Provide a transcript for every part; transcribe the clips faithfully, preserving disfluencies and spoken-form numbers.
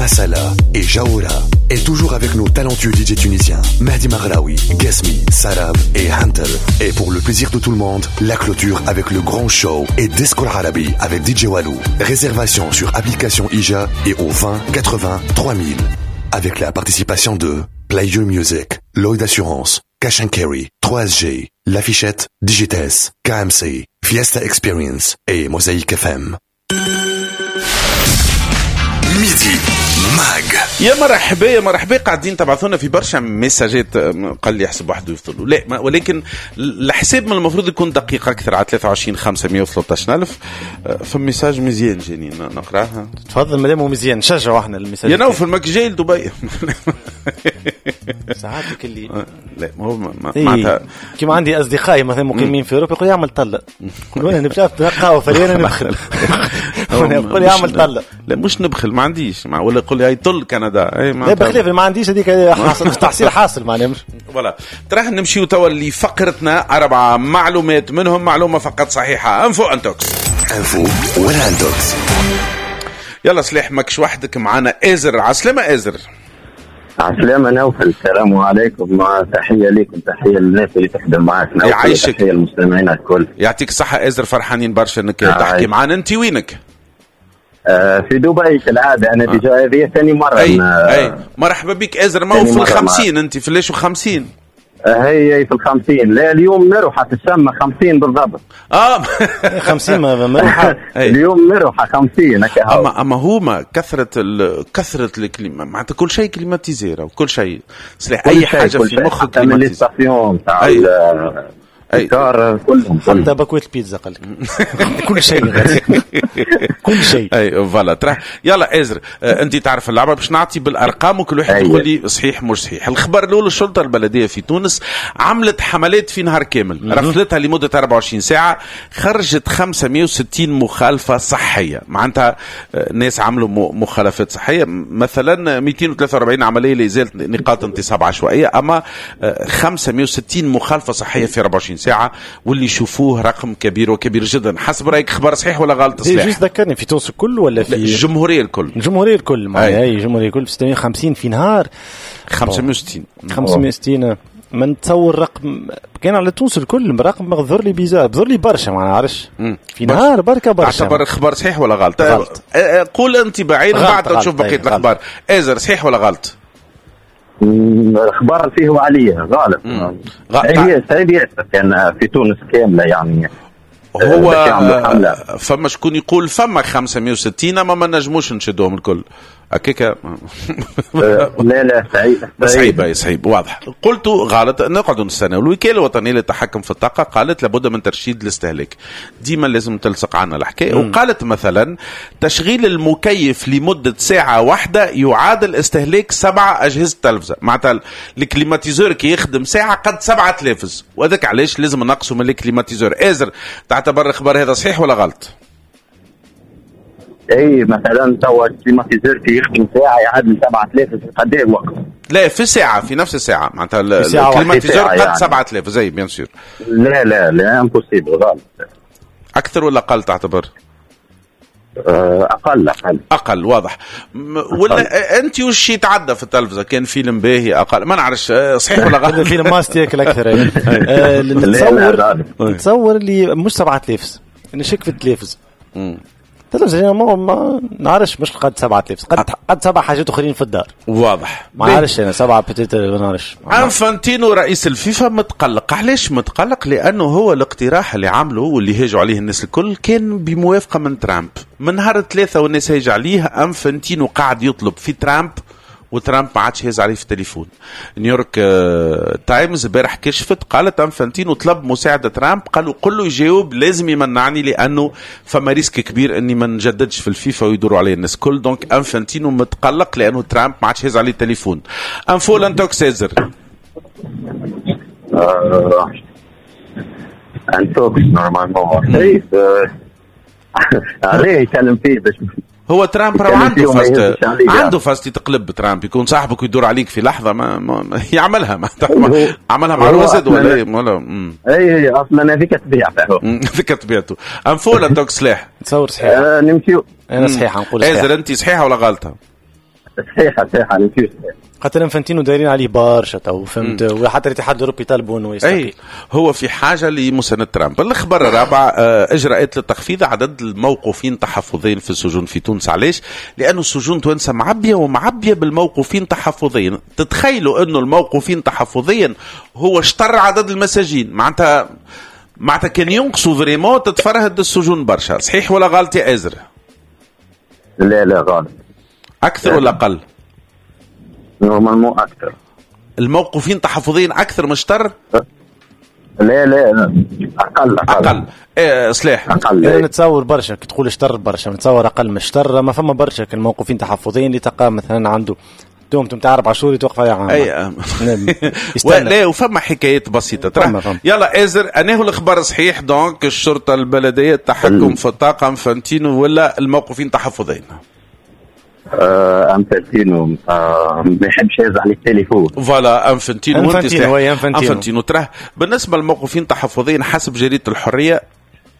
Masala et Jaoura. Et toujours avec nos talentueux D J tunisiens, Mehdi Maghraoui, Gasmi, Sarab et Hunter. Et pour le plaisir de tout le monde, la clôture avec le grand show et Disco Arabi avec D J Walou. Réservation sur application Ija et au vingt quatre-vingts trois mille. Avec la participation de Play Your Music, Lloyd Assurance, Cash and Carry, trois S G, L'Affichette, Digites, K M C, Fiesta Experience et Mosaïque F M. Midi Mag. يا مرحبا يا مرحبا، قاعدين تبعثونا في برشا ميساجات، قال لي يحسب وحده يفضلوا لا، ما ولكن الحساب من المفروض يكون دقيق اكثر على ثلاثة وعشرين خمسمية وثلاثطاش ألف. فما message مزيان جاني نقراها. تفضل مادام هو مزيان نشجعوا احنا ال message. يا نوفل ماك جاي لدبي. ساعاتك اللي لا ما هو معناتها كيما عندي اصدقائي مثلا مقيمين في اوروبا يقول يعمل طلة، يقول انا نبدا نقهوه فريانه نبخل، يقول يعمل طلة. لا مش نبخل، ما عنديش، ولا يقول لي هاي طل كندا. اي لا بخلاف ما عنديش هذيك حاصل تحصيل حاصل معناها. voilà تراه نمشيو توا لفقرتنا أربعة معلومات، منهم معلومة فقط صحيحة. info intox. info ولا intox. يلا صلاح ماكش وحدك، معانا ازر. عسلامة ازر. عسلامة نوفل، السلام عليكم، تحية لكم، تحية للناس اللي تخدم معاك نوفل، يعيشك، تحية للمستمعين الكل. يعطيك الصحة ازر، فرحانين برشا انك تحكي معانا. انت وينك؟ آه في دبي كالعادة، أنا déjà هذه ثاني مرة. أي, أي. مرحبا بك أزر. ما هو في الخمسين أنت في ليش وخمسين؟ هي في الخمسين. لا اليوم مروحة تسمى خمسين بالضبط. آه خمسين مروحة. اليوم مروحة خمسين. أما أما هما كثرة ال كثرة ال clima، معناتها كل شيء climatisé وكل شيء سلاح، أي حاجة في مخك climatisé. أي كار كلهم، حتى باكوية البيتزا قال لك كل شيء كل شيء. اي voilà ترى. يلا ازر، انت تعرف اللعبة، باش نعطي بالارقام وكل واحد يقول لي صحيح مش صحيح. الخبر الاول، الشرطة البلدية في تونس عملت حملات في نهار كامل، رفلتها لمدة أربعة وعشرين ساعة، خرجت خمسمية وستين مخالفة صحية. معناتها ناس عملوا مخالفات صحية، مثلا مئتين وثلاثة وأربعين عملية لازالة نقاط انتصاب عشوائية، اما خمسمية وستين مخالفة صحية في أربعة وعشرين ساعة، واللي يشوفوه رقم كبير وكبير جدا. حسب رأيك خبر صحيح ولا غلط؟ صحيح. juste ذكرني في تونس الكل ولا في الجمهورية الكل؟ الجمهورية الكل معناها، اي الجمهورية الكل ستمية وخمسين في نهار. خمسمية وستين. خمسمية وستين ما نتصور رقم كان على تونس الكل، رقم ظهر لي bizarre، ظهر لي برشا ما نعرفش في نهار بركة برشا. اعتبر خبر صحيح ولا غلط؟ غلط. قول انت بعيد بعد تشوف بقية الاخبار. ازر صحيح ولا غلط؟ الأخبار فيه وعليه غلط. هي صعيب كان في تونس كاملة يعني. هو فما شكون يقول فما خمسمية وستين اما ما نجموش نشدوهم الكل هكاك. لا لا صعيب صعيب صعيب واضح. قلت غلط، نقعدوا نستناو. الوكالة الوطنية للتحكم في الطاقة قالت لابد من ترشيد الاستهلاك، ديما لازم تلصق عنا الحكاية. وقالت مثلا تشغيل المكيف لمدة ساعة واحدة يعادل استهلاك سبعة اجهزة تلفزه، معناتها ال climatiseur كي يخدم ساعة قد سبعة تلفز، وهذاك علاش لازم نقصوا من ال climatiseur. ازر تعتبر الخبر هذا صحيح ولا غلط؟ اي مثلا توا ال climatiseur كي يخدم ساعة يعادل سبعة آلاف قد ايه وقت؟ لا في ساعة، في نفس الساعة معناتها ال climatiseur قد يعني سبعة آلاف زي bien sûr. لا لا لا impossible غلط. اكثر ولا اقل تعتبر؟ اقل اقل اقل واضح. ولا انت وش يتعدى في التلفزة كان فيلم باهي اقل ما نعرفش صحيح ولا غلط. فيلم ماست ياكل اكثر. نتصور نتصور اللي مش سبعة آلاف، نشك في التلفز. التلفزة ما ما نعرفش مش قد سبعة آلاف، قد قد سبع حاجات اخرين في الدار. واضح. ما نعرفش انا سبعة peut-être ما نعرفش. انفانتينو رئيس الفيفا متقلق. علاش متقلق؟ لانه هو الاقتراح اللي عمله واللي هاجوا عليه الناس الكل كان بموافقة من ترامب. من نهار الثلاثة والناس هاج عليه، انفانتينو قاعد يطلب في ترامب وترامب ما عادش هز عليه في التليفون. نيويورك تايمز البارح كشفت، قالت انفانتينو طلب مساعدة ترامب، قالوا قل له يجاوب لازم يمنعني لانه فما risque كبير اني ما نجددش في الفيفا ويدوروا عليه الناس كل. donc انفانتينو متقلق لانه ترامب ما عادش هز عليه التليفون. info ولا intox ازر؟ intox normalement عليه يكلم فيه باش هو ترامب راه عنده فاست، عنده فاست يتقلب ترامب، يكون صاحبك ويدور عليك في لحظة ما, ما يعملها ما عملها مع الوزد ولا ولا اي اي اصلا هذيك طبيعته، هذيك طبيعته. info ولا intox سلاح؟ تصور صحيح. آه نمشيو انا صحيحه نقول صحيح. ازر انت صحيحه ولا غلطه؟ صحيحه صحيحه صحيح. خاطر انفانتينو دايرين عليه برشا تو، فهمت، وحتى الاتحاد الاوروبي طالبوا انه يستقيل. هو في حاجة لمساند ترامب. الخبر الرابع، اجراءات لتخفيض عدد الموقوفين تحفظيا في السجون في تونس. علاش؟ لانه السجون تونس معبيه ومعبيه بالموقوفين تحفظيا. تتخيلوا انه الموقوفين تحفظيا هو شطر عدد المساجين، معناتها معناتها كان ينقصوا vraiment تتفرهد السجون برشا. صحيح ولا غلط يا ازر؟ لا لا غلط. اكثر ولا اقل؟ normalement اكثر. الموقوفين تحفظيا اكثر من شطر؟ لا لا اقل اقل اقل. إيه صلاح اقل. انا نتصور برشا كي تقول شطر برشا، نتصور اقل من شطر. ما فما برشا كان الموقوفين تحفظيا اللي تلقى مثلا عنده دومتم تاع اربع شهور يتوقف عليها عام. اي لا، وفما حكايات بسيطة ترى. يلا ازر، انه الخبر صحيح؟ donc الشرطة البلدية التحكم في الطاقة انفانتينو ولا الموقوفين تحفظيا؟ آه انفانتينو ما يحبش يهز عليه التليفون. voilà انفانتينو، انفانتينو انفانتينو تراه. بالنسبة للموقوفين تحفظيا حسب جريدة الحرية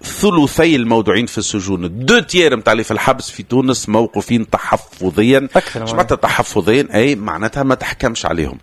ثلثي الموضوعين في السجون، deux tiers نتاع اللي في الحبس في تونس موقوفين تحفظيا. ايش معناتها تحفظيا؟ اي معناتها ما تحكمش عليهم.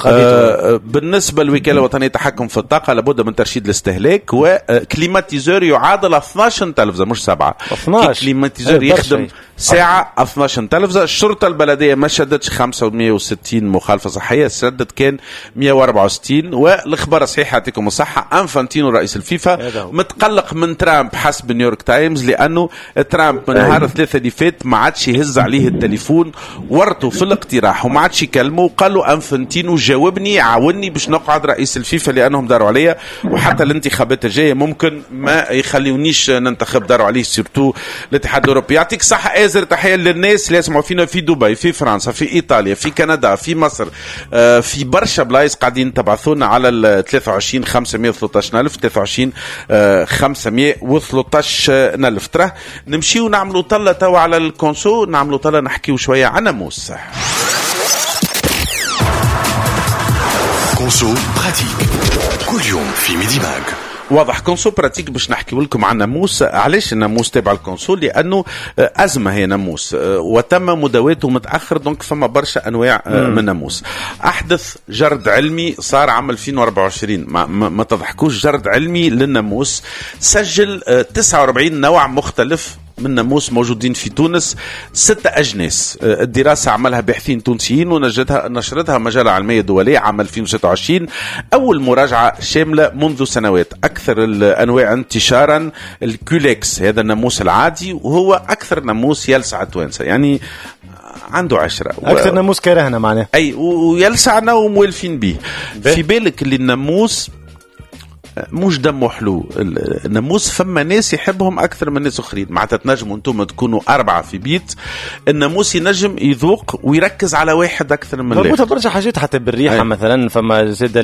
آه بالنسبة للوكاله الوطنية للتحكم في الطاقة لابد من ترشيد الاستهلاك، و climatiseur يعادل اثناش تلفزه مش سبعة. اثناش climatiseur يخدم ساعة اثناش تلفزه. الشرطة البلدية ما شدتش خمسمية وستين مخالفة صحية، شدت كان مية وأربعة وستين. والاخبار صحيحه، يعطيكم الصحة. انفانتينو رئيس الفيفا متقلق من ترامب حسب نيويورك تايمز، لانه ترامب من نهار الثلاثاء اللي فات ما عادش يهز عليه التليفون، ورطة في الاقتراح وما عادش يكلمه، وقال له انفانتينو جاوبني عاوني باش نقعد رئيس الفيفا لانهم داروا عليا، وحتى الانتخابات الجاية ممكن ما يخليونيش ننتخب، داروا عليه surtout الاتحاد الاوروبي. يعطيك الصحة ازر. تحية للناس اللي يسمعوا فينا في دبي، في فرنسا، في ايطاليا، في كندا، في مصر، في برشا بلايص قاعدين تبعثونا على ال ثلاثة وعشرين خمسمية وثلاثطاش ألف، ثلاثة وعشرين خمسمية وثلاثطاش ألف. ترى نمشيو نعملوا طلة توا على ال conso، نعملوا طلة نحكيو شوية عن ناموس. conso pratique كل يوم في ميدي ماك. واضح conso pratique باش نحكي لكم عن ناموس. علاش الناموس تابع ال conso؟ لانه ازمة هي ناموس وتم مداواته متاخر، donc فما برشا انواع من ناموس. احدث جرد علمي صار عام ألفين وأربعة وعشرين، ما, ما, ما تضحكوش، جرد علمي للناموس سجل تسعة وأربعين نوع مختلف من ناموس موجودين في تونس، ستة أجناس. الدراسة عملها باحثين تونسيين ونجتها نشرتها مجلة علمية دولية عام ألفين وستة وعشرين، أول مراجعة شاملة منذ سنوات. أكثر الأنواع انتشارا ال Culex، هذا الناموس العادي، وهو أكثر ناموس يلسع التوانسة، يعني عنده عشرة أكثر و... ناموس كرهنا معناه، أي ويلسعنا وموالفين به. في بالك اللي الناموس مش دمه حلو، الناموس فما ناس يحبهم أكثر من ناس أخرين، معناتها تنجموا أنتم تكونوا أربعة في بيت، الناموس ينجم يذوق ويركز على واحد أكثر من الآخر. مربوطة برشا حاجات حتى بالريحة. أي. مثلا فما زاد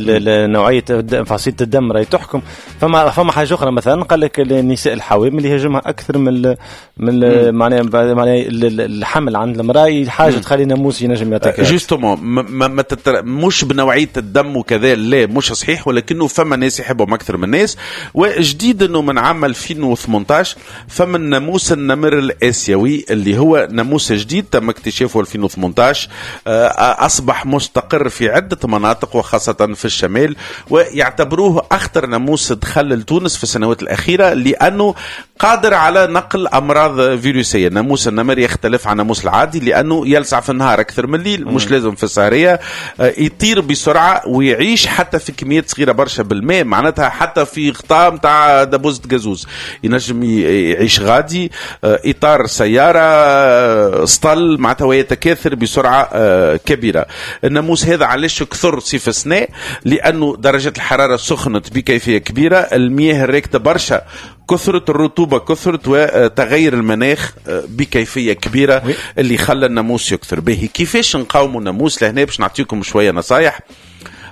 نوعية فصيلة الدم راهي تحكم. فما فما حاجة أخرى مثلا قال لك النساء الحوامل اللي يهاجمها أكثر من من معناها معناها الحمل عند المرأة، حاجة تخلي الناموس ينجم يتاكل. justement ما ما تتر... مش بنوعية الدم وكذا، لا مش صحيح، ولكنه فما ناس يحبهم أكثر من الناس. وجديد أنه من عام ألفين وثمانطاش فما الناموس النمر الآسيوي اللي هو ناموس جديد تم اكتشافه ألفين وثمانطاش، أصبح مستقر في عدة مناطق وخاصة في الشمال، ويعتبروه أخطر ناموس دخل لتونس في السنوات الأخيرة لأنه قادر على نقل أمراض فيروسية. ناموس النمر يختلف عن الناموس العادي لأنه يلسع في النهار أكثر من الليل، مش لازم في السهرية، يطير بسرعة ويعيش حتى في كميات صغيرة برشا بالماء، معناتها حتى في غطاء متاع دبوزة جازوز ينجم يعيش غادي، إطار سيارة، سطل، معناتها ويتكاثر بسرعة كبيرة. الناموس هذا علاش كثر صيف السنة؟ لأنه درجة الحرارة سخنت بكيفية كبيرة، المياه الراكدة برشا، كثرة الرطوبة كثرت، وتغير المناخ بكيفية كبيرة اللي خلى الناموس يكثر. به كيفاش نقاوموا الناموس؟ لهنا باش نعطيكم شوية نصايح.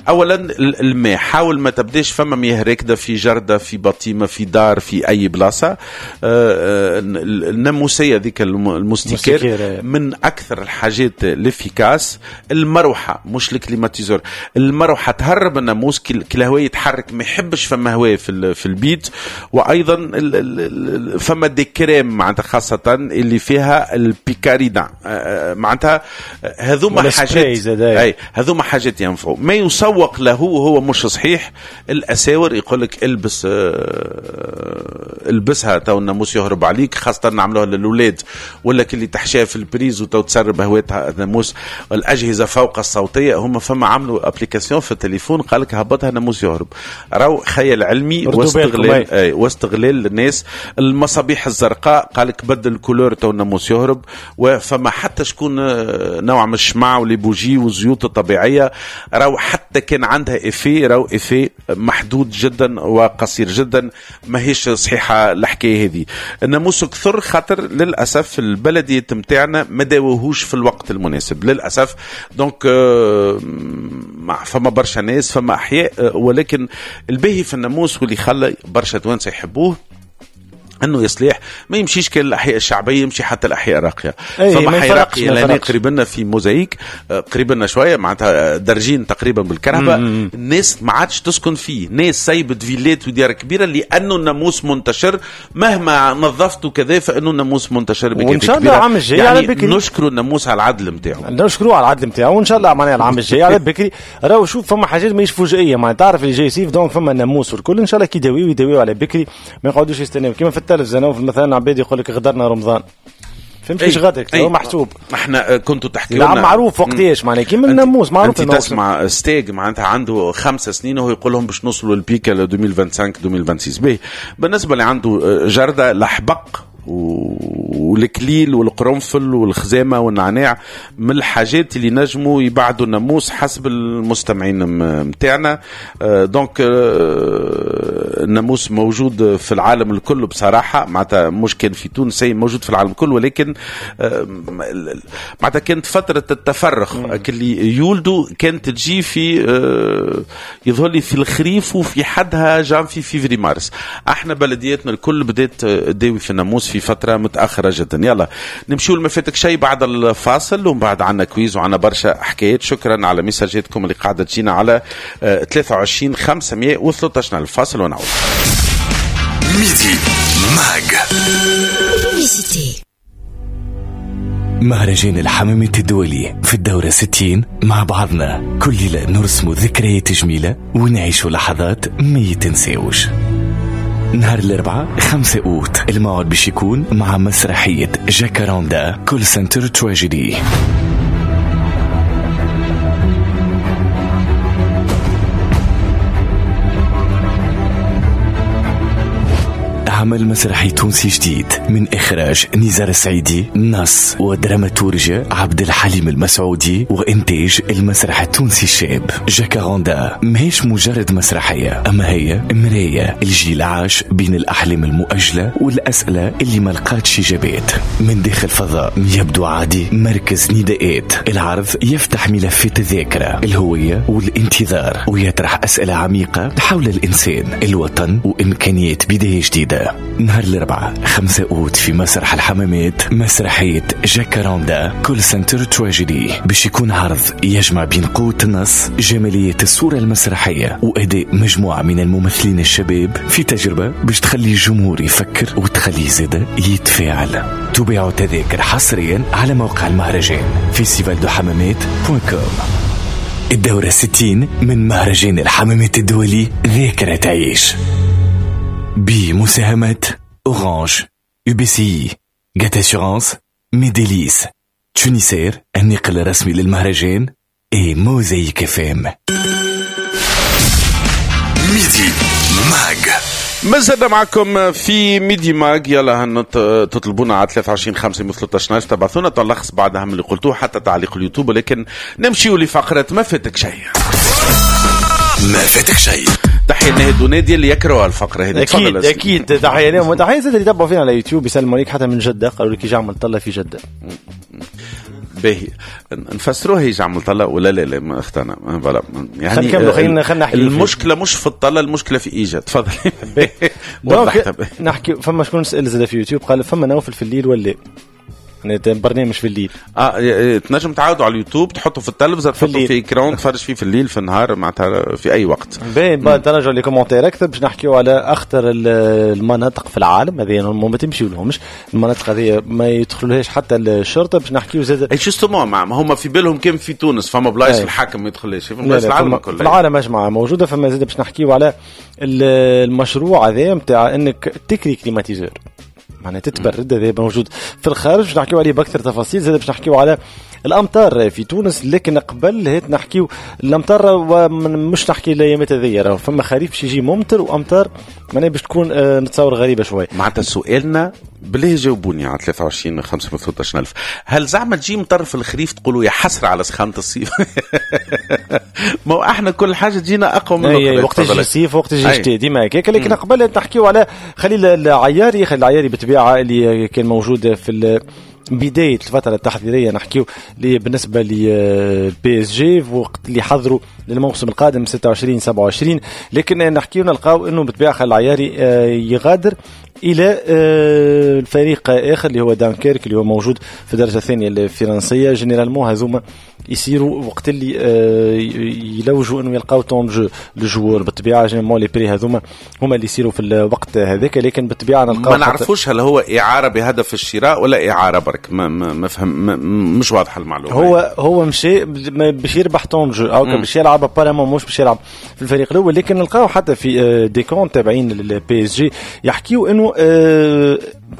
اولا الماء، حاول ما تبداش فما مياه راكده في جرده، في بطيمه، في دار، في اي بلاصة. الناموسيه ذيك ال moustiquaire من اكثر الحاجات ال efficaces. المروحة مش ال climatiseur، المروحة تهرب الناموس، كل الهواء يتحرك، ما يحبش فما هواء في في البيت. وايضا فما des crèmes معناتها خاصة اللي فيها ال picaridin، معناتها هذوما حاجات، اي هذوما حاجات ينفعوا. ما يسوق له هو مش صحيح. الاساور يقول لك البس البسها تو الناموس يهرب عليك، خاصة نعملوها للاولاد، ولا اللي تحشيها في ال prise وتو تسرب هواتها الناموس. الاجهزة فوق الصوتية هم فما عملوا application في التليفون قال لك هبطها ناموس يهرب. راهو خيال علمي واستغلال، اي واستغلال للناس. المصابيح الزرقاء قال لك بدل couleur تو الناموس يهرب. وفما حتى شكون نوع من الشمع و les bougies والزيوت الطبيعية، راهو حتى كان عندها effet، راهو effet محدود جدا وقصير جدا، ماهيش صحيحه الحكاية هذه. الناموس كثر خاطر للاسف البلدية نتاعنا ما داوهوش في الوقت المناسب للاسف. donc فما برشا ناس، فما احياء، ولكن الباهي في الناموس واللي خلى برشا توانسة يحبوه انه يصلح ما يمشيش كان الاحياء الشعبية، يمشي حتى الاحياء الراقية. فما حي راقية لان قريب لنا في موزايك، قريب لنا شوية معناتها درجين تقريبا بالكهرباء، الناس ما عادش تسكن فيه، ناس سايبت فيلات وديار كبيرة لانه الناموس منتشر، مهما نظفته كذا فانه الناموس منتشر بكثير. وان شاء الله العام الجاي يعني على بكري نشكروا الناموس على العدل نتاعو، نشكروه على العدل نتاعو، وان شاء الله معناها العام الجاي على بكري. راهو شوف فما حاجات ماهيش فجائيه، معناها تعرف اللي جاي صيف donc فما الناموس والكل، ان شاء الله كي يداويو يداويو على بكري، ما يقعدوش يستناو كيما في التلفزة. مثلا عباد يقول لك غدرنا رمضان، فهمت كيفاش غدرك؟ هو محسوب. احنا كنتوا تحكي لنا معروف وقتاش معناها كيما الناموس معروف. انت تسمع ستيج معناتها عنده خمس سنين وهو يقول لهم باش نوصلوا لل pic ألفين وخمسة وعشرين ألفين وستة وعشرين. باهي بالنسبة اللي عنده جرده الحبق والكليل والقرنفل والخزامه والنعناع من الحاجات اللي نجموا يبعدوا الناموس حسب المستمعين متاعنا. donc الناموس موجود في العالم الكل بصراحة، معناتها مش كان في تونس، موجود في العالم الكل، ولكن معناتها كانت فترة التفرخ اللي يولدوا كانت تجي في يظهر لي في الخريف وفي حدها جانفي فيفري مارس. احنا بلدياتنا الكل بدات تداوي في الناموس في فترة متأخرة جدا. يلا نمشيو لما فاتك شيء بعد الفاصل، ومن بعد عنا quiz وعنا برشا حكايات. شكرا على ميساجاتكم اللي قاعدة تجينا على ثلاثة وعشرين خمسمية وثلاثة عشر. الفاصل ونعود. Midi Mag. مهرجان الحمامات الدولي في الدورة ستين مع بعضنا كل ليلة نرسم ذكريات جميلة ونعيش لحظات ما يتنساوش. نهار الأربعاء خمسة أوت الموعد باش يكون مع مسرحية جاكاراندا Call Center Tragedy. عمل مسرحي تونسي جديد من إخراج نزار السعيدي، نص ودراماتورجيا عبد الحليم المسعودي، وإنتاج المسرح التونسي الشاب. جاكاراندا ماهيش مجرد مسرحية، أما هي مراية الجيل عاش بين الأحلام المؤجلة والأسئلة اللي ما لقاتش إجابات. من داخل فضاء يبدو عادي، مركز نداءات العرض يفتح ملفات الذاكرة، الهوية والانتظار، ويطرح أسئلة عميقة حول الإنسان، الوطن، وإمكانيات بداية جديدة. نهار الأربعاء خمسة أوت في مسرح الحمامات مسرحية جاكاراندا Call Center Tragedy باش يكون عرض يجمع بين قوة النص، جمالية الصورة المسرحية، وأداء مجموعة من الممثلين الشباب في تجربة باش تخلي الجمهور يفكر وتخليه زادة يتفاعل. تباع تذاكر حصريا على موقع المهرجان festival de Hammamet point com. الدورة ستين من مهرجان الحمامات الدولي، ذاكرة تعيش، بمساهمة أورانج، يو بي سي، جات أسيورانس، ميديليس، تونيسير النقل الرسمي للمهرجان، et موزايك اف ام. Midi Mag. مازلنا معكم في Midi Mag. يلا هن تطلبونا على ثلاثة وعشرين خمسمية وثلاثة عشر، تبعثونا تلخص بعد اهم اللي قلتوه حتى تعليق اليوتيوب، ولكن نمشيو لفقرة ما فاتك شيء. ما فاتك شيء. تحية نهد ونادي اللي يكرهوا الفقرة هذه. أكيد أكيد تحية لهم، وتحية زاد اللي تبعوا فينا على يوتيوب، يسلموا عليك حتى من جدة، قالوا لك يجي عمل طلة في جدة. باهي نفسروها هي عمل طلة ولا لا لا ما اختنا voilà يعني خلينا خلينا خلينا نحكي. المشكلة مش في الطلة، المشكلة في ايجا. تفضل. donc نحكي فما شكون سال زاد في يوتيوب قال فما نوفل في الليل ولا برنامج في الليل؟ اه تنجم تعاودوا على اليوتيوب، تحطه في التلفزة، تحطه في écran، تفرج فيه في الليل في النهار، معناتها في اي وقت. باهي بعد نرجعوا les commentaires اكثر باش نحكيو على اخطر المناطق في العالم. هذه ما تمشيو لهمش المناطق هذه، ما يدخلوهاش حتى الشرطة. باش نحكيو زاد اي justement هما في بالهم كان في تونس فما بلايص الحاكم ما يدخلهاش، في بلايص العالم كله، في العالم اجمع موجودة. فما زاد باش نحكيو على المشروع هذا نتاع انك تكري climatiseur، معناها تتبرد، هذا موجود في الخارج باش نحكيو عليه باكثر تفاصيل. زاد باش نحكيو على الامطار في تونس، لكن قبل هيت نحكيو الامطار ومش نحكي الايامات هذيا، راهو فما خريف باش يجي ممطر وامطار معناها باش تكون آه نتصور غريبة شوي. معناتها سؤالنا بالله جاوبوني على ثلاثة وعشرين خمسمية وثلاثة عشر ألف، هل زعما تجي مطر في الخريف تقولوا يا حسرة على سخانه الصيف؟ ما هو احنا كل حاجة تجينا اقوى من الاخرى، وقت يجي الصيف وقت يجي الشتاء ديما هكاك. لكن قبل نحكيو على خليل العياري. خليل العياري بالطبيعة اللي كان موجود في بداية الفترة التحضيرية، نحكيو بالنسبة ل PSG وقت اللي حضروا للموسم القادم ستة وعشرين سبعة وعشرين. لكن نحكيو نلقاو انه بالطبيعة خليل العياري يغادر الى الفريق اخر اللي هو دانكيرك اللي هو موجود في الدرجة الثانية الفرنسية. généralement هذوما يصيروا وقت اللي يلوجوا انه يلقاو temps de jeu لل joueur. بالطبيعة généralement les prêts هذوما هما اللي يصيروا في الوقت هذاك. لكن بالطبيعة نلقاو ما نعرفوش هل هو اعاره بهدف الشراء ولا اعاره برك، ما ما فهم مش واضحة المعلومة. هو هو مشي باش يربح temps de jeu او باش يلعب apparemment مش باش يلعب في الفريق الاول. لكن نلقاو حتى في des comptes تابعين لل PSG يحكيو انه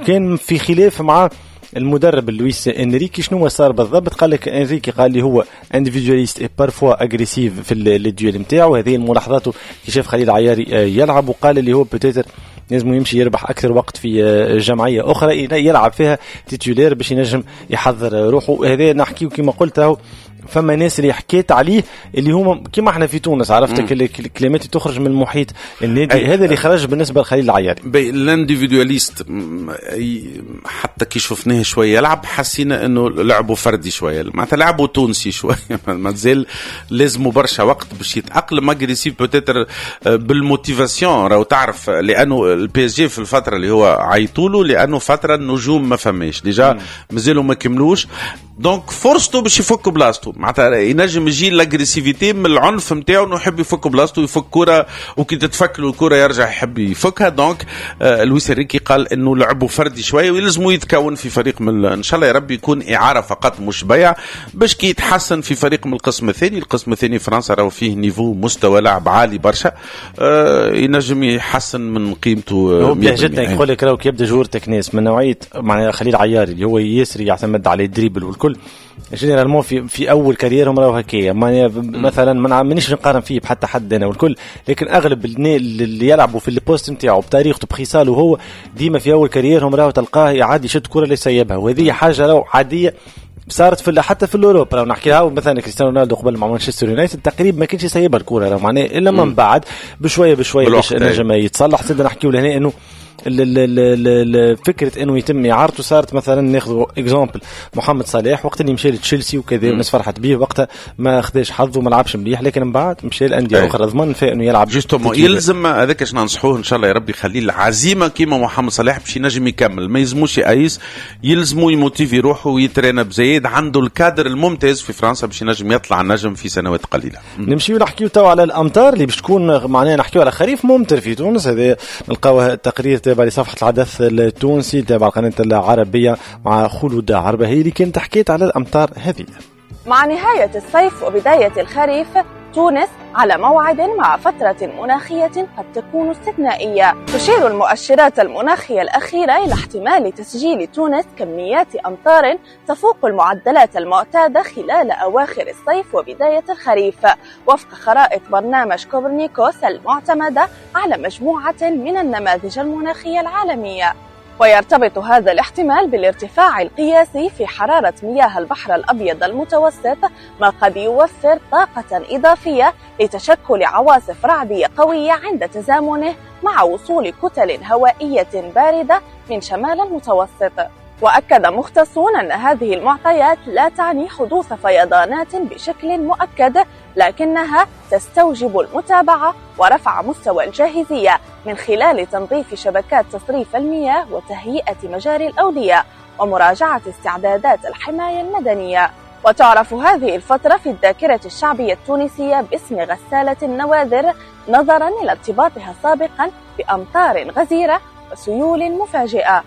كان في خلاف مع المدرب لويس انريكي. شنو صار بالضبط؟ قال لك انريكي قال لي هو individualiste et parfois agressif في les duels نتاعو. هذه الملاحظات كي شاف خليل عياري يلعب، وقال اللي هو peut-être لازم يمشي يربح اكثر وقت في جمعية اخرى يلعب فيها titulaire باش ينجم يحضر روحه. هذا نحكيو كما قلت راهو فما ناس اللي حكيت عليه اللي هما كيما احنا في تونس، عرفتك الكلمات تخرج من محيط النادي. هذا اللي خرج بالنسبة لخليل العياري. l'individualiste حتى كي شفناه شوية يلعب حسينا انه لعبه فردي شوية، معناتها لعبه تونسي شوية، مازال لازمه برشا وقت باش يتاقلم. agressif peut-être بال motivation راهو تعرف، لانه ال PSG في الفترة اللي هو عيطولو لانه فترة النجوم ما فماش déjà مازالوا ما كملوش، donc فرصته باش يفك بلاصتو، معناتها ينجم يجي l'agressivité من العنف نتاعو انه يحب يفك بلاصتو، يفك كره وكي تتفك له الكره يرجع يحب يفكها. donc آه لويس انريكي قال انه لعبه فردي شوية ويلزمو يتكون في فريق من ان شاء الله يا ربي يكون اعاره فقط مش بيع، باش كي يتحسن في فريق من القسم الثاني. القسم الثاني فرنسا راهو فيه niveau مستوى لعب عالي برشا، آه ينجم يحسن من قيمته. هو بلهجتنا يقول لك راهو كي يبدا joueur تكنيس من نوعية معناها خليل عياري اللي هو ياسر يعتمد على ال dribble والكل، généralement في في اول carrière هم راهو هكايا. مثلا ما مانيش نقارن فيه بحتى حد انا والكل، لكن اغلب اللي يلعبوا في ال poste نتاعو بطريقته بخصاله هو ديما في اول carrière هم راهو تلقاه يعادي يشد كره اللي يسيبها، وهذه حاجة راهو عادية صارت في حتى في l'Europe. راهو نحكيها مثلا كريستيانو رونالدو قبل مع مانشستر يونايتد تقريبا ما كانش يسيبها الكره، راهو معناه الا من بعد بشوية بشوية باش نجم يتصلح. سيدنا نحكيو لهنا انه فكرة انه يتم اعارته صارت. مثلا ناخذ exemple محمد صلاح وقت اللي مشى لتشيلسي وكذا والناس فرحت به، وقتها ما خداش حظه وما لعبش مليح، لكن من بعد مشى لانديه اخرى ضمن في انه يلعب justement. يلزم هذاك اش ننصحوه ان شاء الله يا ربي يخليه العزيمة كيما محمد صلاح باش ينجم يكمل، ما يلزموش يأيس، يلزمو يموتيفي روحه ويترينا بزايد، عنده الكادر الممتاز في فرنسا باش ينجم يطلع النجم في سنوات قليله. نمشيو نحكيو تو على الامطار اللي باش تكون معناها نحكيو على خريف ممطر في تونس. هذا نلقاوه التقرير تابع لصفحة الحدث التونسي تابع القناة العربية مع خلود عربهي اللي كانت حكيت على الأمطار هذه. مع نهاية الصيف وبداية الخريف، تونس على موعد مع فترة مناخية قد تكون استثنائية. تشير المؤشرات المناخية الأخيرة إلى احتمال تسجيل تونس كميات أمطار تفوق المعدلات المعتادة خلال أواخر الصيف وبداية الخريف، وفق خرائط برنامج كوبرنيكوس المعتمدة على مجموعة من النماذج المناخية العالمية. ويرتبط هذا الاحتمال بالارتفاع القياسي في حرارة مياه البحر الأبيض المتوسط، ما قد يوفر طاقة إضافية لتشكل عواصف رعدية قوية عند تزامنه مع وصول كتل هوائية باردة من شمال المتوسط. وأكد مختصون أن هذه المعطيات لا تعني حدوث فيضانات بشكل مؤكد، لكنها تستوجب المتابعة ورفع مستوى الجاهزية من خلال تنظيف شبكات تصريف المياه وتهيئة مجاري الأودية ومراجعة استعدادات الحماية المدنية. وتعرف هذه الفترة في الذاكرة الشعبية التونسية باسم غسالة النوادر، نظرا إلى ارتباطها سابقا بأمطار غزيرة وسيول مفاجئة.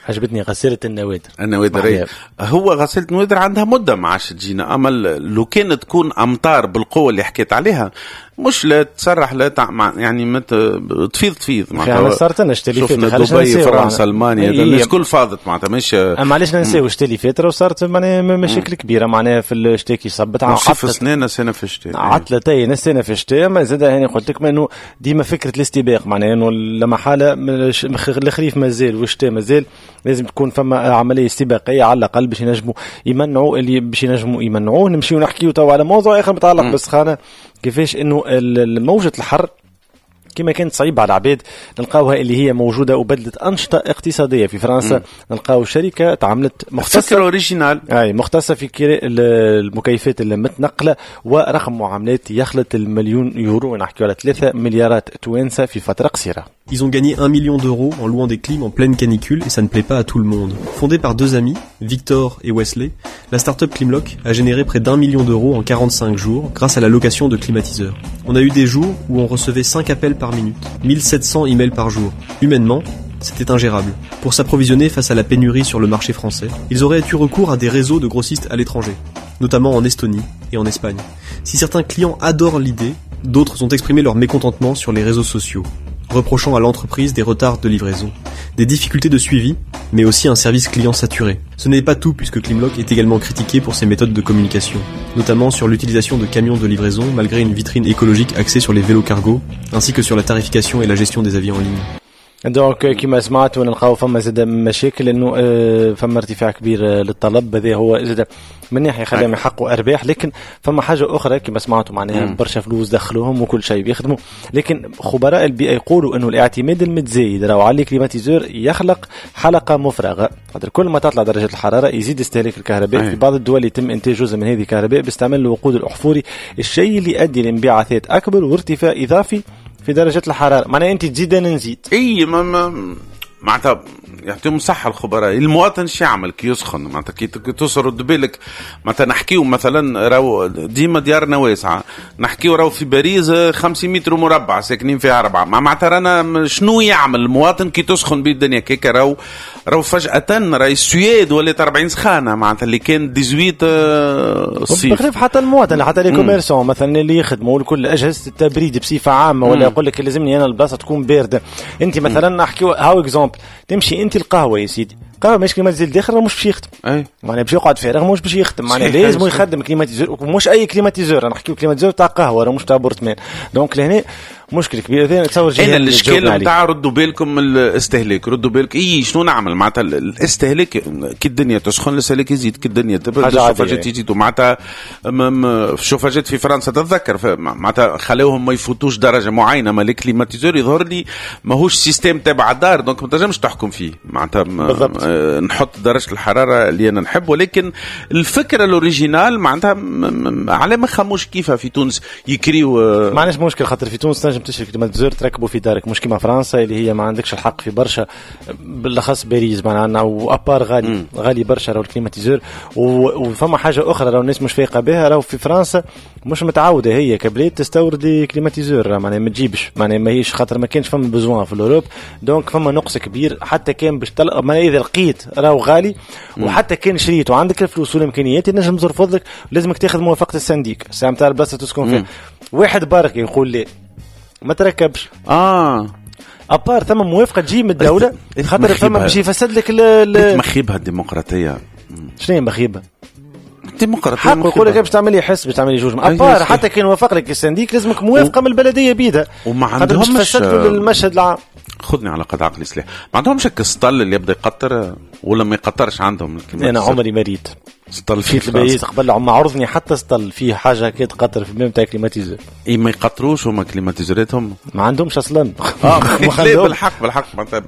عجبتني غسالة النوادر. النوادر هو غسالة النوادر عندها مدة ما عادش تجينا، أما لو كانت تكون أمطار بالقوة اللي حكيت عليها مش لا تسرح لا تع... يعني مت... تفيض تفيض معناتها. صارت لنا الشتاء اللي فات، دبي فرنسا المانيا الناس كل فاضت معناتها مش اما علاش ننساو الشتاء اللي فات راه صارت معناها مشاكل كبيرة معناها في الشتاء كي صبت عطلت سنة سنة في الشتاء عطلتين سنة في الشتاء. ما زاد هاني قلت لك انه ديما فكرة الاستباق معناها انه لما حاله الخريف مازال والشتاء مازال لازم تكون فما عملية استباقية على الاقل باش ينجموا يمنعوا اللي باش ينجموا يمنعوه. نمشيو نحكيو تو على موضوع اخر متعلق بالسخانه، كيفاش انه الموجة الحر كما كانت صعيبة على العباد نلقاوها اللي هي موجودة وبدلت أنشطة اقتصادية في فرنسا. نلقاو شركة تعملت مختصة originale أي مختصة في كراء المكيفات المتنقلة ورقم معاملات يخلط المليون يورو، نحكي على ثلاثة مليارات توانسة في فترة قصيرة. Ils ont gagné un million d'euros en louant des clims en pleine canicule et ça ne plaît pas à tout le monde. Fondée par deux amis, Victor et Wesley, la start-up Climlock a généré près d'un million d'euros en quarante-cinq jours grâce à la location de climatiseurs. On a eu des jours où on recevait cinq appels par minute, mille sept cents emails par jour. Humainement, c'était ingérable. Pour s'approvisionner face à la pénurie sur le marché français, ils auraient eu recours à des réseaux de grossistes à l'étranger, notamment en Estonie et en Espagne. Si certains clients adorent l'idée, d'autres ont exprimé leur mécontentement sur les réseaux sociaux, reprochant à l'entreprise des retards de livraison, des difficultés de suivi, mais aussi un service client saturé. Ce n'est pas tout puisque Climlock est également critiqué pour ses méthodes de communication, notamment sur l'utilisation de camions de livraison malgré une vitrine écologique axée sur les vélos cargo, ainsi que sur la tarification et la gestion des avis en ligne. donc كما سمعت ونلقاو فما زاد مشاكل انه فما ارتفاع كبير للطلب، هذا هو زاد من ناحية خلاهم يحققوا ارباح، لكن فما حاجة اخرى كما سمعتوا معناها برشا فلوس دخلوهم وكل شيء بيخدموا، لكن خبراء البيئة يقولوا انه الاعتماد المتزايد راهو على ال climatiseur يخلق حلقة مفرغة، خاطر كل ما تطلع درجه الحرارة يزيد استهلاك الكهرباء. في بعض الدول يتم انتاج جزء من هذه الكهرباء باستعمال الوقود الاحفوري، الشيء اللي يؤدي لانبعاثات اكبر وارتفاع اضافي في درجة الحرارة. معناها أنت تزيد أنا نزيد. إيه ما ما معناتها يعطيهم صحة الخبراء. المواطن شو يعمل كي يسخن معناتها كي توصل رد بالك معناتها نحكيو مثلا راهو ديما ديارنا واسعة، نحكيو راهو في باريس خمسين متر مربع ساكنين فيها أربعة، معناتها رانا شنو يعمل المواطن كي تسخن بيه الدنيا كيكا؟ راهو راهو فجأة راهي السويد ولات أربعين سخانة معناتها اللي كان تسعة عشر الصيف. بخلاف حتى المواطن حتى les commerçants مثلا اللي يخدموا كل أجهزة التبريد بصفة عامة، ولا يقول لك لازمني أنا البلاصة تكون باردة. أنت مثلا نحكيو هاو exemple تمشي انت القهوة يا سيدي، قهوة مش climatiseur داخل مش باش يخدم، معناها باش يقعد فارغ مش باش يخدم، معناها لازم يخدم climatiseur، مش اي climatiseur، انا نحكيو climatiseur تاع قهوة راه مش تاع appartement. donc لهنا مشكل كبير. هذا نتصور انا الاشكال نتاع ردوا بالكم الاستهلاك، ردوا بالك اي شنو نعمل معناتها الاستهلاك كي الدنيا تسخن الاستهلاك يزيد، كي الدنيا تبرد الشوفاجات يزيدوا معناتها. الشوفاجات في فرنسا تتذكر معناتها خلوهم ما يفوتوش درجه معينة، ما ال climatiseur يظهر لي ماهوش système تبع الدار، donc ما تنجمش تحكم فيه معناتها آه نحط درجه الحرارة اللي انا نحب. ولكن الفكرة ال originale معناتها على ما خموش كيفها في تونس يكريو. آه ما عندناش مشكل خاطر في تونس تنجم تشري climatiseur تركبه في دارك، مش كيما فرنسا اللي هي ما عندكش الحق في برشا، بالاخص باريس معناها و à part غالي مم. غالي برشا راهو ال climatiseur. وفما حاجة اخرى راهو الناس مش فايقه بها، راهو في فرنسا مش متعوده هي كبلاد تستورد climatiseur، معناها ما تجيبش، معناها ماهيش خاطر ما كانش فما besoin في l'Europe، donc فما نقص كبير. حتى كان باش تلقى معناها اذا لقيت راهو غالي، وحتى كان شريت وعندك الفلوس والامكانيات تنجم ترفض لك، لازمك تاخذ موافقة ال syndic الساعة نتاع البلاصة تسكن فيها. واحد بارك يقول لي ما تركبش اه à part ثم موافقة تجي من الدولة خاطر فما باش يفسد لك ال مخيبها الديمقراطية. شنو هي مخيبه الديمقراطية؟ حق يقول لك باش تعمل لي حس باش تعمل لي جوج à part، حتى كان وافق لك ال syndic لازمك موافقة و... من البلدية بيدها، وما عندهمش المشهد العام. خذني على قد عقلي سلاح، ما عندهمش السطل اللي يبدا يقطر ولا ما يقطرش عندهم؟ انا عمري ما ريت سطل في البيت قبل ما عرضني حتى سطل فيه حاجة كي تقطر في الماء تاع climatiseur. اي ما يقطروش هما climatiseur اتهم ما عندهمش اصلا. اه بالحق بالحق معناتها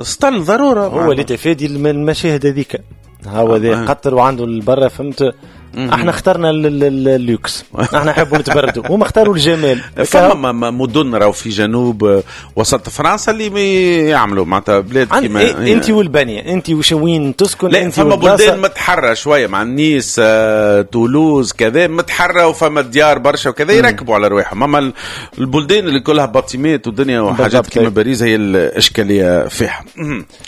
سطل ضرورة. هو اللي تفادي المشاهد هذيك، هو ذا قطر وعنده البرة، فهمت؟ احنا اخترنا اللوكس، احنا نحبوا نتبردوا، هما اختاروا الجمال. فما مدن راهو في جنوب وسط فرنسا اللي يعملوا معناتها بلاد كيما إيه انت والبنيه، انت وش وين تسكن، انت فما بلدان متحره شوية مع نيس آه، تولوز كذا متحره، وفما ديار برشا وكذا يركبوا على رواحهم. اما البلدان اللي كلها bâtiments ودنيا وحاجات كيما باريس هي الاشكالية فيها.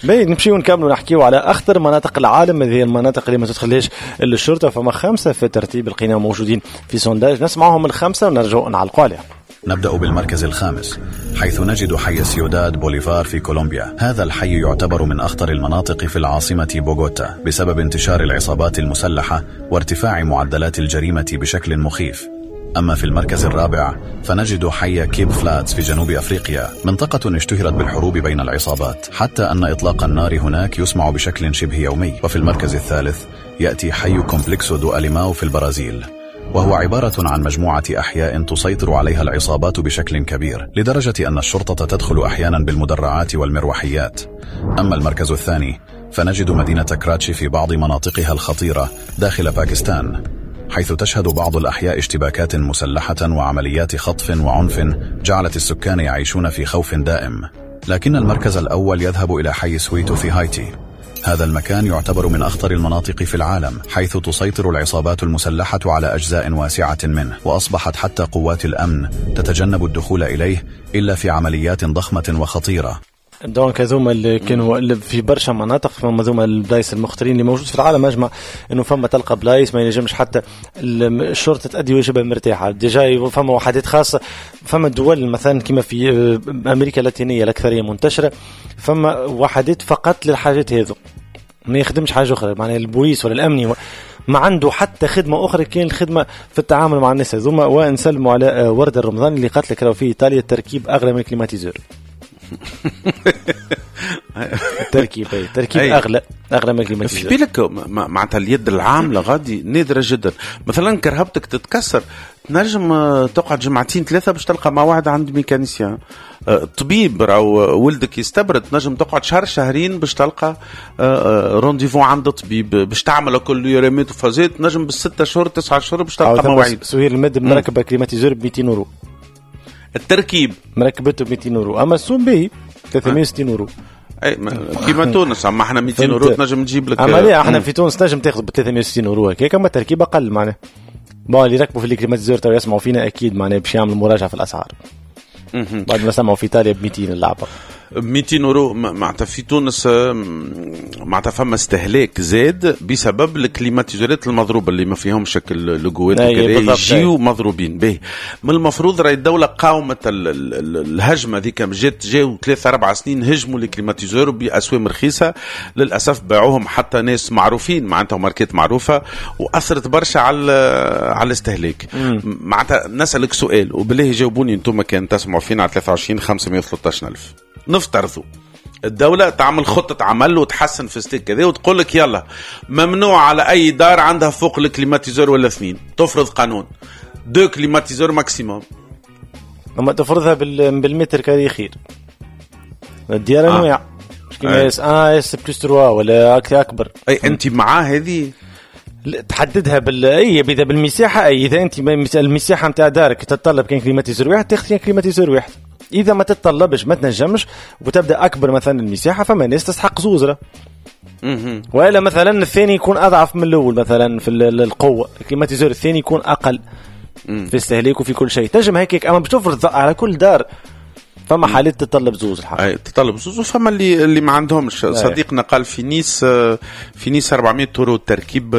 باهي نمشيو نكملوا نحكيو على اخطر مناطق العالم، هذه المناطق اللي ما تدخلهاش الشرطة. فما خمسة في الترتيب لقينا موجودين في sondage، نسمعهم الخمسة ونرجعوا نعلقوا عليهم. نبدأ بالمركز الخامس، حيث نجد حي سيوداد بوليفار في كولومبيا. هذا الحي يعتبر من أخطر المناطق في العاصمة بوغوتا بسبب انتشار العصابات المسلحة وارتفاع معدلات الجريمة بشكل مخيف. أما في المركز الرابع فنجد حي كيب فلاتس في جنوب أفريقيا، منطقة اشتهرت بالحروب بين العصابات، حتى أن إطلاق النار هناك يسمع بشكل شبه يومي. وفي المركز الثالث يأتي حي كومبلكسو دو أليماو في البرازيل، وهو عبارة عن مجموعة أحياء تسيطر عليها العصابات بشكل كبير، لدرجة أن الشرطة تدخل أحيانا بالمدرعات والمروحيات. أما المركز الثاني فنجد مدينة كراتشي في بعض مناطقها الخطيرة داخل باكستان، حيث تشهد بعض الأحياء اشتباكات مسلحة وعمليات خطف وعنف جعلت السكان يعيشون في خوف دائم. لكن المركز الأول يذهب إلى حي سويتو في هايتي. هذا المكان يعتبر من أخطر المناطق في العالم، حيث تسيطر العصابات المسلحة على أجزاء واسعة منه، وأصبحت حتى قوات الأمن تتجنب الدخول إليه إلا في عمليات ضخمة وخطيرة. donc هذوما اللي كانوا في برشا مناطق، فما هذوما البلايص المخطرين اللي موجود في العالم اجمع، انه فما تلقى بلايص ما ينجمش حتى الشرطة تأدي واجبها مرتاحة. déjà فما وحدات خاصة، فما دول مثلا كما في امريكا اللاتينية الاكثرية منتشرة، فما وحدات فقط للحاجات هذو، ما يخدمش حاجة اخرى، معناها البوليس ولا الامني ما عنده حتى خدمة اخرى كان الخدمة في التعامل مع الناس هذوما. ونسلموا على ورده الرمضان اللي قالت لك راهو في ايطاليا التركيب اغلى من ال climatiseur. التركيب اي التركيب اغلى اغلى من ال climatiseur. في بالك معناتها اليد العاملة غادي نادرة جدا. مثلا كرهبتك تتكسر تنجم تقعد جمعتين ثلاثة باش تلقى موعد عند mécanicien. طبيب راهو ولدك يستبرد تنجم تقعد شهر شهرين باش تلقى rendez-vous عند طبيب باش تعمل كل يوريميت وفازات، تنجم بالستة شهور تسعة شهور باش تلقى مواعيد. سهير المد مركبة climatiseur ب مئتين يورو التركيب، مركبته ب مئتين يورو، اما السوم باهي ثلاثمية وستين يورو. اي كيما تونس، اما احنا مئتين يورو تنجم تجيب لك. اما لا احنا في تونس تنجم تاخذ ب ثلاثمية وستين يورو هكاك، اما التركيب اقل معناها. bon اللي ركبوا في ال climatiseur تو يسمعوا فينا اكيد معناها باش يعملوا مراجعه في الاسعار. بعد ما سمعوا في ايطاليا ب مئتين اللعبة مئتين يورو معناتها في تونس، معناتها فما استهلاك زاد بسبب ال climatiseur ات المضروبه اللي ما فيهمش شكل لوغوات وكذا، يجيو مضروبين به. من المفروض راهي الدولة قاومت الهجمة ذيك، جات جاو ثلاثة أربع سنين هجموا ال climatiseurs باسوام رخيصة، للاسف باعوهم حتى ناس معروفين معناتها ماركات معروفة، واثرت برشا على على الاستهلاك. معناتها نسالك سؤال وبالله جاوبوني انتم كان تسمعوا فينا على ثلاثة وعشرين خمسمية وثلاثة عشر ألف. نفترضوا الدولة تعمل خطة عمل وتحسن في ستيك كذا وتقول لك يلا ممنوع على أي دار عندها فوق ال climatiseur ولا اثنين، تفرض قانون deux climatiseurs maximum. أما تفرضها بال mètre carré خير. الديار آه. أنواع مش كيما S واحد S plus ثلاثة ولا أكبر. أي أنت مع هذه تحددها بال اي اذا بالمساحه، اي اذا انت المساحة نتاع دارك تتطلب كان climatiseur واحد تاخذ كان climatiseur واحد. اذا ما تتطلبش ما تنجمش وتبدا اكبر مثلا المساحة، فما ناس تستحق زوزره. والا مثلا الثاني يكون اضعف من الاول مثلا في القوة، ال climatiseur الثاني يكون اقل في استهلاكه في كل شيء. تنجم هيك، اما باش تفرض على كل دار فما حالات تتطلب زوز الحق. اي تتطلب زوز، وفما اللي اللي ما عندهمش. أي. صديقنا قال في نيس، في نيس أربعمية يورو تركيب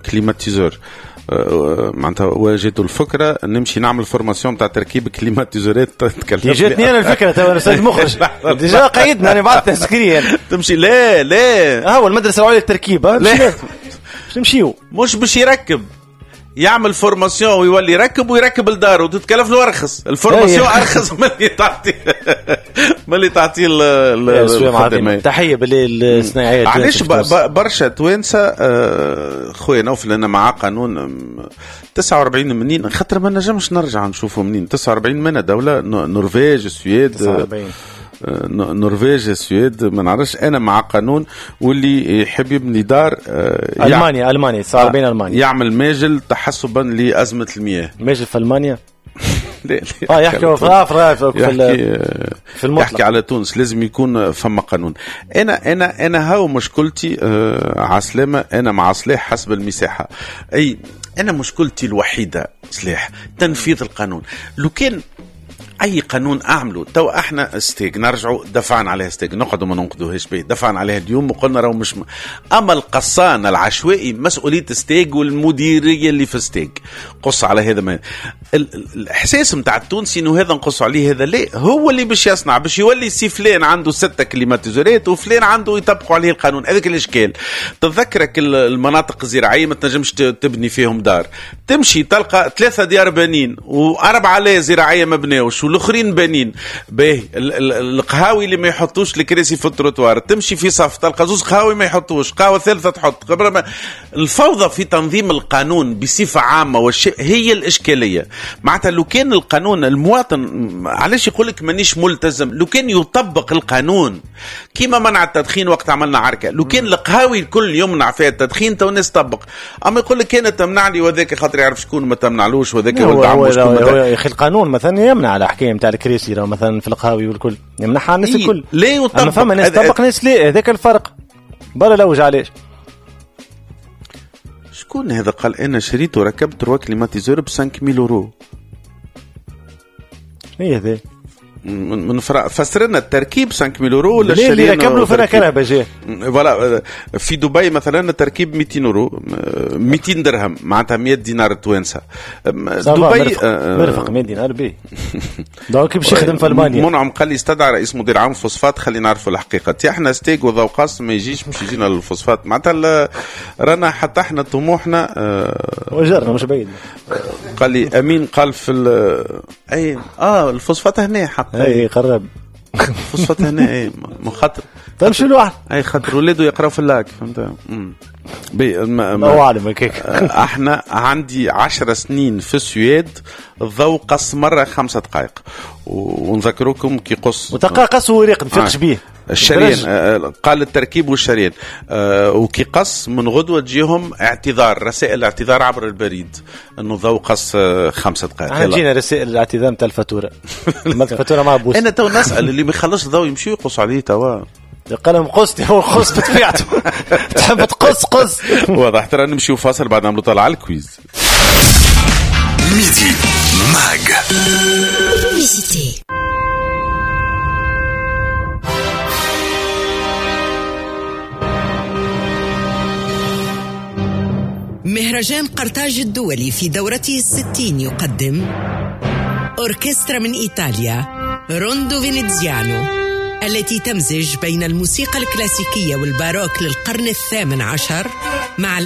climatiseur. معناتها واجهته الفكرة نمشي نعمل formation تاع تركيب climatiseur ات. تكلم جاتني انا الفكرة تو استاذ مخرج déjà قيدنا انا بعد تسكري تمشي. لا لا هو المدرسة العليا للتركيب باش نمشيو، مش باش يركب، يعمل formation ويولي يركب ويركب الدار وتتكلف له ارخص. ال formation ارخص من اللي تعطي من اللي تعطي الخدمة. تحية بالصناعيه. علاش برشا توانسة خويا نوفل انا مع قانون تسعة وأربعين منين، خاطر ما نجمش نرجع نشوفه منين تسعة وأربعين من دولة، نرويج، السويد، تسعة وأربعين النرويج السويد ما نعرفش. انا مع قانون واللي يحب يبني دار المانيا المانيا صار بين المانيا يعمل ماجل تحسبا لازمه المياه. ماجل في المانيا؟ لا لا اه يحكي في في في المطلق، يحكي على تونس لازم يكون فما قانون. انا انا انا هاو مشكلتي آه عسلامة، انا مع صلاح حسب المساحة. اي انا مشكلتي الوحيدة صلاح تنفيذ القانون. لو كان اي قانون اعمله تو احنا ستيك نرجعوا دفعنا عليها ستيك نقعدوا ما ننقدوهاش به، دفعنا عليها اليوم وقلنا راهو مش م... اما القصان العشوائي مسؤولية ستيك والمديريه اللي في ستيك قص على هذا. ما ال... الاحساس نتاع التونسي انه هذا نقص عليه هذا لا، هو اللي باش يصنع باش يولي سي فلان عنده ستة climatiseur ات وفلان عنده يطبقوا عليه القانون. هذاك الاشكال. تتذكرك المناطق الزراعية ما تنجمش تبني فيهم دار، تمشي تلقى ثلاثة ديار بانين واربعة لا زراعية ما بناوش والاخرين بانين. باهي القهاوي اللي ما يحطوش الكراسي في التروتوار، تمشي في صف تلقى زوز قهاوي ما يحطوش، قهوة ثالثة تحط. الفوضى في تنظيم القانون بصفة عامة والشيء هي الاشكالية. معناتها لو كان القانون المواطن علاش يقول لك مانيش ملتزم، لو كان يطبق القانون كيما منع التدخين وقت عملنا عركة، لو كان القهاوي الكل يمنع فيها التدخين تو الناس تطبق. اما يقول لك كان تمنع لي وذاك خاطر يعرف شكون ما تمنعلوش وذاك ولد عمو شكون. يا اخي القانون مثلا يمنع على حكاية نتاع الكراسي مثلا في القهاوي والكل يمنعها الناس إيه الكل. ليه يطبق؟ اما فما ناس تطبق ناس لا، هذاك الفرق. برا لوج علاش. شكون هذا قال انا شريت وركبت trois climatiseurs ب خمسة آلاف يورو؟ شنو هي هذا؟ من من فسر لنا التركيب خمسة آلاف يورو ولا الشريان اللي ركب له فينا كرهبه جاه. voilà في دبي مثلا التركيب مئتين يورو، مئتين درهم معناتها مئة دينار توانسة. دبي مرفق مئة دينار بي donc باش يخدم في المانيا. منعم قال لي استدعى رئيس مدير عام فوسفات خلينا نعرفوا الحقيقة. تي احنا ستيك وذوقاس ما يجيش باش يجينا الفوسفات معناتها رانا حتى احنا طموحنا وجرنا مش بعيد. قال لي امين قال في اي اه الفوسفات هنا حق اي قرب فوسفات هنا اي مخاطر تمشي لوحده اي خاطر ولاده يقراو في اللاك فهمت. بي الله اعلم هكاك. احنا عندي عشر سنين في السويد الضوء قص مرة خمسة دقائق ونذكركم كي قص وتلقى قص وريق نفيقش بيه الشريان قال التركيب والشريان آه وكي قص من غدوة تجيهم اعتذار رسائل اعتذار عبر البريد انه الضوء قص خمسة دقائق. جينا رسائل الاعتذار نتاع الفاتورة الفاتورة مع بوس. انا تو نسال اللي ما يخلصش الضوء يمشي يقص عليه توا قال لهم قصتي هو قص بطبيعته تحب تقص قص. واضح ترى نمشيو فاصل بعد نعملوا طلع على ال quiz. Midi Mag. مهرجان قرطاج الدولي في دورته الستين يقدم أوركسترا من إيطاليا روندو فينيزيانو التي تمزج بين الموسيقى الكلاسيكية والباروك للقرن الثامن عشر مع